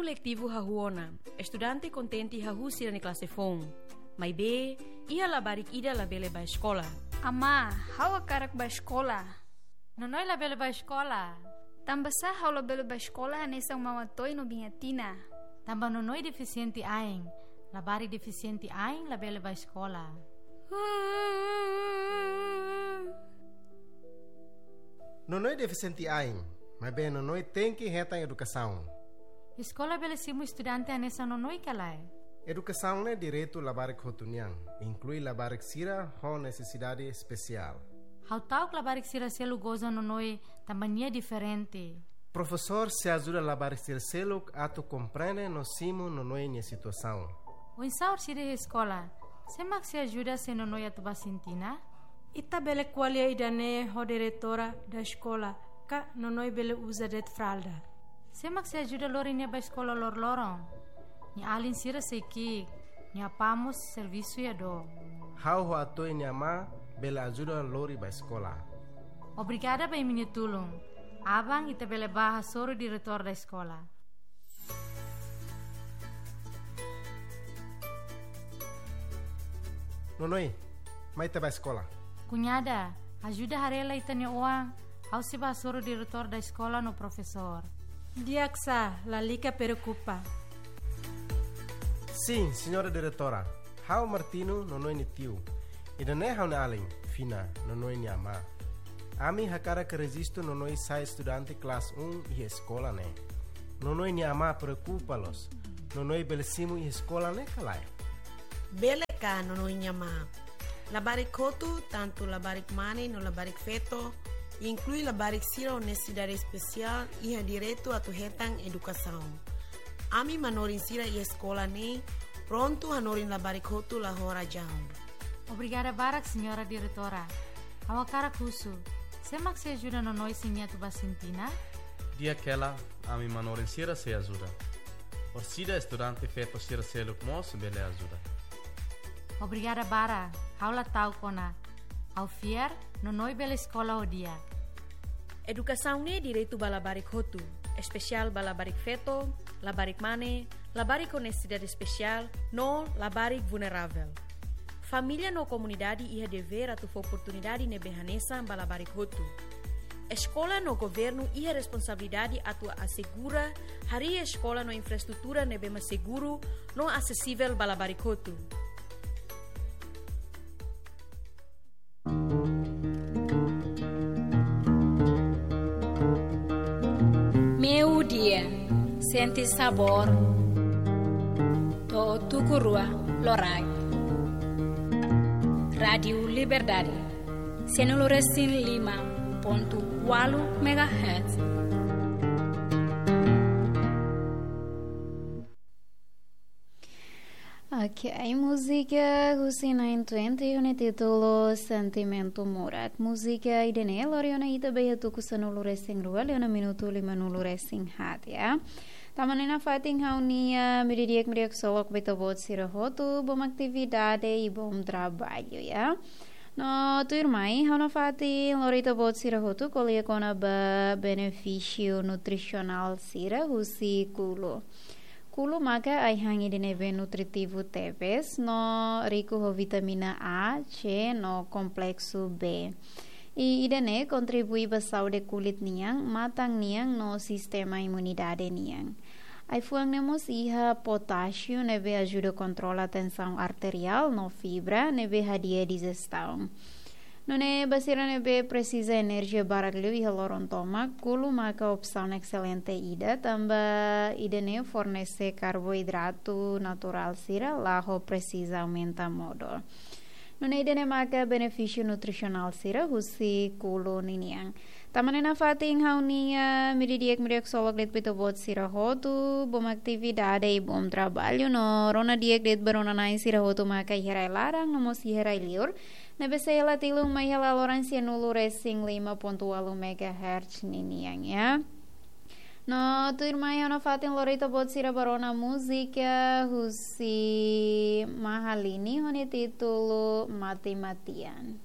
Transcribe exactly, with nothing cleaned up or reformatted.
Letivu hahú ona. Estudante kontente hahú sira-nia klase foun. Maibé, iha labarik ida labele bá eskola. Amá, ha'u hakarak bá eskola. Nonoi labele bá eskola. Tanbasá ha'u labele bá eskola hanesan Maun Atoy no Biin Atina? Tanba Nonoi defisiente ain. Labarik defisiente ain labele bá eskola. Nonoi defisiente ain, maibé Nonoi tenke hetan edukasaun. Eskola bele simu estudante hanesan Nonoi ka lae? Edukasaun ne'e direitu labarik hotu nian, inklui labarik sira ho nesesidade espesiál. Ha'u ta'uk labarik sira seluk goza Nonoi tanba nia diferente. Profesór sei ajuda labarik sira seluk atu komprende no simu Nonoi nia situasaun. Oinsá orsida iha eskola? Sé mak sei ajuda se Nonoi atu bá sentina? Ita bele ko'alia ida-ne'e ho diretora da eskola, ka Nonoi bele uza de'it fralda. Sé mak sei ajuda lori nia bá eskola loroloron? Nia alin sira sei ki'ik, nia apá mós servisu iha dook. Ha'u ho Atoy nia amá bele ajuda lori bá eskola. Obrigada ba imi-nia tulun. Aban ita bele bá hasoru diretór da eskola. Nonoi, mai ita bá eskola. Kuñada, ajuda haree lai ita-nia oan, ha'u sei bá hasoru diretór da eskola no profesór. Di'ak sá, lalika preokupa. Sin, señora diretora. Ha'u Martino, Nonoi nia tiu. Ida-ne'e ha'u-nia alin, Fina, Nonoi nia amá. Ami hakarak rejistu Nonoi sai estudante klase um iha eskola ne'e. Nonoi nia amá preokupa loos. Nonoi bele simu iha eskola ne'e ka lae? Bele ka, Nonoi nia amá. Labarik hotu, tantu labarik mane no labarik feto, inklui labarik sira ho nesesidade espesiál, iha direitu atu hetan edukasaun. Ami manorin sira iha eskola ne'e prontu hanorin labarik hotu la ho razaun. Obrigada barak, señora diretora. Ha'u hakarak husu, sé mak sei ajuda Nonoi se nia atu bá sentina? Di'ak hela, ami manorin sira sei ajuda. Orsida estudante feto sira seluk mós bele ajuda. Obrigada barak, ha'u la ta'uk ona. Ha'u fiar, Nonoi bele eskola ho di'ak. Edukasaun ne'e direitu ba labarik hotu, espesiál ba labarik feto, labarik mane, labarik ho nesesidade espesiál, no labarik vulneravel. Família no komunidade iha devér atu fó oportunidade ne'ebé hanesan ba labarik hotu. Eskola no governu iha responsabilidade atu asegura harii eskola no infraestrutura ne'ebé mak seguru no asesivel ba labarik hotu. Meiudia, sente sabór to'o tuku rua loraik. Rádiu Liberdade, sanulu resin lima pontu ualu megahertz. Ok, múzika husi nine twenty ho nia títulu Sentimentu Murak. Múzika ida-ne'e lori ona ita ba iha tuku sanulu resin rua, liu ona minutu limanulu resin haat, ya. Tanba ne'e nafatin ha'u-nia, ah, meiudia di'ak, meiudia ksolok ba ita-boot sira hotu, bom atividade i bom trabalho, ya. No tuirmai, ha'u nafatin lori ita-boot sira hotu ko'alia kona-ba benefísiu nutrisionál sira husi kulu. Kulu maka ai-han ida ne'ebé nutritivu tebes no riku ho vitamina A, C no kompleksu B. I ida-ne'e kontribui ba saúde kulit nian, matan nian no sistema imunidade nian. Ai-fuan ne'e mós iha potásiu ne'ebé ajuda kontrola tensaun arteriál no fibra ne'ebé hadi'a dijestaun. Nune'e ba sira ne'ebé presiza enerjia barak liu iha loron tomak, kulu maka opsaun excelente ida, tanba ida-ne'e fornese karboidratu naturál sira, la ho presiza aumenta modol. Nune'e ida-ne'e maka benefísiu nutrisionál sira husi kulu ninian. Tanba ne'e nafatin ha'u-nia, ah, meiudia di'ak, meiudia ksolok de'it ba ita-boot sira hotu, bom atividade i bom trabalho no rona di'ak de'it ba rona-na'in sira hotu maka iha rai laran no mós iha rai liur. Ne'ebé sei hela tilun mai hela loron sanulu resin lima pontu ualu megahertz ninian, ya. No tuirmai ha'u nafatin lori ita-boot sira ba rona múzika husi Mahalini ho nia títulu Mati-matian.